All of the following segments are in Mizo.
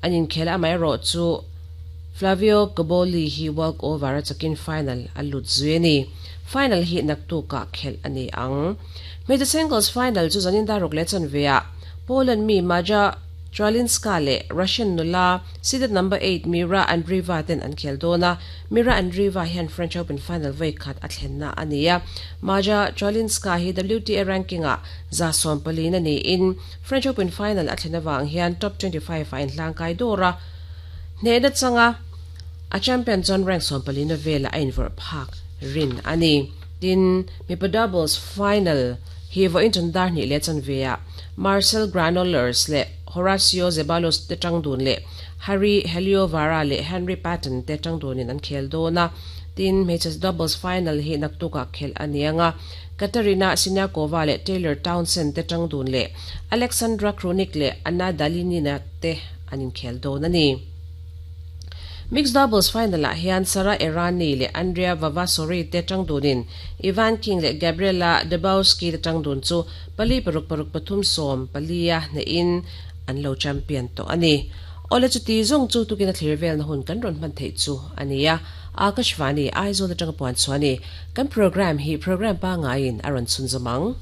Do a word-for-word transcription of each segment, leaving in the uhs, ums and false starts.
Anin khela mai ro chu Flavio Cobolli hi walk over a chakin final alut zueni final hi naktu ka khel ani ang major singles final chu zanin daruk le chan vea Poland mi Maja Chwalinska le Russian nula seeded number eight Mira Andreeva ten an khel dona Mira Andreeva hian French Open final vai khat a thlenna ania Maja Chwalinska hi W T A ranking a za som palina ni in French Open final a thlena wang hian top twenty-five a in hlangkai dora ne na changa a champion John rank som palina vela a inver phak rin ani tin mipa doubles final hi vo in chundar ni le chan vea Marcel Granollers le Horacio Zeballos te tangdun le Harry Heliovara le Henry Patton te tangdun in an khel dona tin matches doubles final hi naktuka khel anianga Katarina Siniakova le Taylor Townsend te tangdun le Alexandra Kronik le Anna Dalinina te anin khel dona ni Mixed doubles final la hian Sara Errani le Andrea Vavasori te tangdunin Ivan King le Gabriela Debowski te tangdun chu pali paruk paruk pathum som palia na in an lo champion to ani ole chu ti zong chu tukina thirvel na hun kan ron man thei chu ania Akashvani Aizawl atanga puan chuani kan program hi program pa nga in aron chun zamang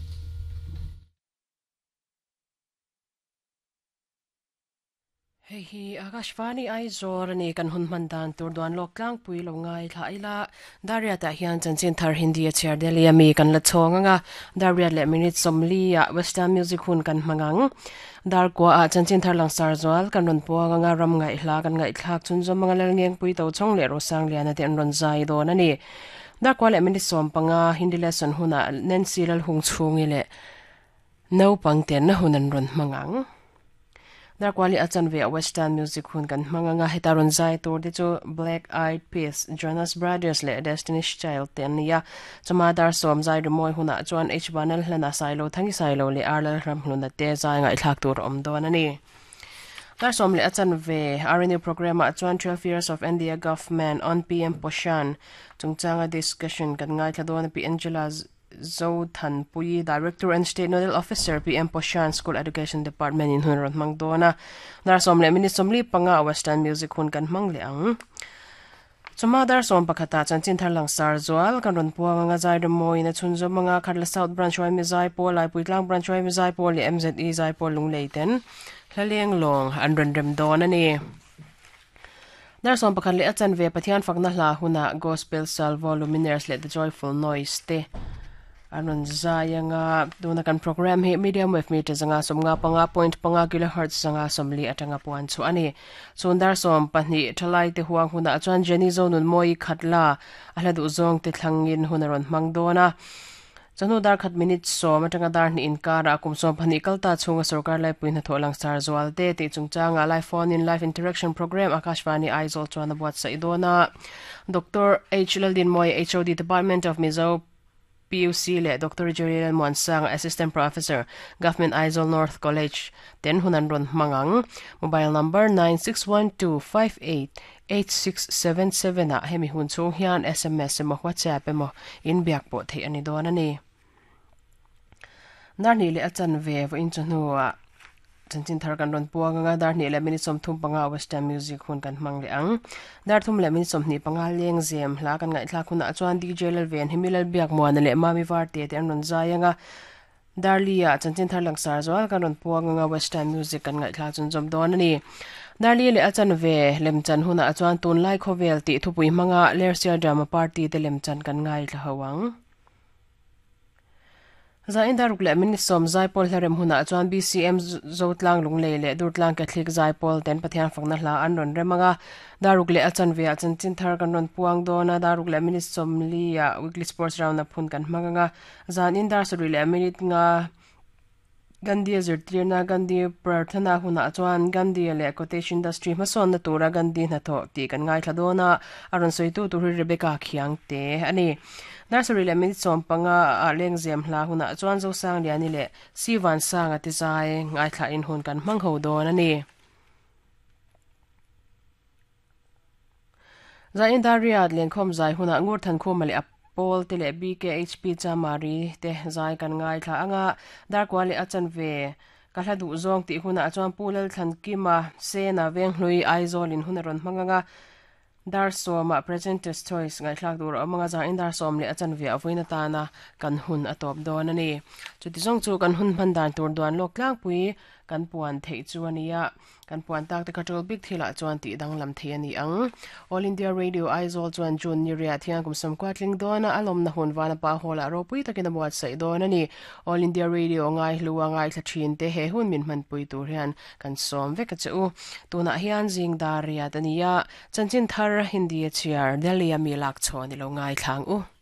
Hei hi Akashvani Aizawl ani kan hun man dan tur duan lok tlang pui lo ngai thla ila Daria ta hian chanchin thar Hindi a chair Delhi ami kan la chhong anga Daria le minute somli a Western music hun kan mangang dar kwa a chanchin thar lang sar zwal kan ron puang anga ram ngai hla kan ngai thlak chun zom manga lal ngeng pui to chong le rosang lian te an ron zai don ani dar kwa le minute som panga Hindi lesson huna Nancy lal hung chungi le no pangten na hunan ron mangang dar kwali achan ve Western music hun kan manganga hetaron zai tur de chu Black Eyed Peas Jonas Brothers le Destiny's Child ten nia chama dar som zai rimoi huna chuan H banal hlana sailo thangi sailo le arlal ram hluna te zai ngai thlak tur om don ani dar som le achan ve R N U program a chuan twelve years of India government on P M Poshan chungchanga discussion kan ngai thladon P Angela Zo Than Pui, Director and State Nodal Officer, P M Poshan School Education Department in hun ron mang dona. Dar som le minute somli panga Western music hun kan mang le ang. Chuma dar som pakhata chanchin thar lang sar zwal kan ron puang nga zai moi na chun zo manga kharla South Branch wai mi zai pol lai puitlang branch wai mi zai pol le M Z E zai pol lung leiten hlaleng long an ron rem don ani. Dar som pakhat le achan ve Pathian fakna hla huna Gospel Salvo Luminaires le The Joyful Noise te anon zayanga duna kan program hi medium wave meter zanga somnga panga point panga kilohertz zanga somli atanga puan chu ani chundar som pahni thalai te huang huna chuan Jenny zonun moi khatla ahla du zong te thlangin hunaron mangdona chanu dar khat minute som atanga dar ni inkara kum som phani kalta chunga sarkar lai puina tholang sar zwal te ti chungchanga live phone in live interaction program Akashvani Aizawl chuan buat sa idona Doctor H Laldin Moi H O D Department of Mizo P U C le Doctor Julian Monsang Assistant Professor Government Aizawl North College ten hunan ron mangang mobile number nine six one two five eight eight six seven seven a hemi hun chung hian S M S emaw WhatsApp emaw in biak pawh theih ani dawn ani dar ni le achan ve vo in chunu a chanchin thar kan ron puang anga dar ni le minute som thum panga Western music hun kan hmang le ang dar thum le minute som ni panga leng zem hla kan ngai thlak huna chuan D J lal ven himilal biak muan le mami var te te an ron zai anga darlia chanchin thar lang sar zwal kan ron puang anga Western music kan ngai thlak chun jom don ani darli le achan ve lemchan huna chuan tun lai khovel ti thupui manga lersia drama party te lemchan kan ngai thla hawang Za in daruk le minute som zai pol hlarem huna chuan B C M Zotlang lunglei le Durtlang Catholic zai pol ten Pathian fakna hla an ron remanga daruk le achan ve achan chin thar kan ron puang dona daruk le minute som li a weekly sports round a phun kan hmanga zan in dar suri le minute nga Gandhi zirtirna Gandhi prarthana huna chuan Gandhi le cottage industry hmasawn na tura Gandhi na tho ti kan ngai thladona aron soitu tur Rebecca Khiang te ani nursery le minute som panga a lengzem hla huna chuan zo sang liani le siwan sang ati zai ngai thla in hun kan hmang ho don ani za in dariat lenkhom zai huna ngur than khum le Paul te le B K H P chamari te zai kan ngai thla anga dar kwali achan ve Ka hla duh zawng tih hunah chuan Pu Lalthankima Sena Venghlui Aizawl in hun a rawn hmang anga dar sawma Presenter's Choice ngaihthlak tur a awm anga zan in dar sawm leh a chanve a vawiin atana kan hun a tawp dawn a ni. Chuti zawng chu kan hun hman dan tur duan lawk tlangpui kan puan theih chu ania kan puan tak te kha tul bik thilah chuan tih danglam thei ani ang. All India Radio Aizawl chuan June ni riat hian kum sawm kwatling dawn a alawm na hun vana pa hawla ropui takin a buat sai dawn ani. All India Radio ngai hluwa ngai thla thin te he hun min hman pui tur hian kan sawm vek a chu. Tunah hian zing dar riat ania chanchin thar Hindi a chiar Delhi ami lak chaw ni lo ngai thlang u.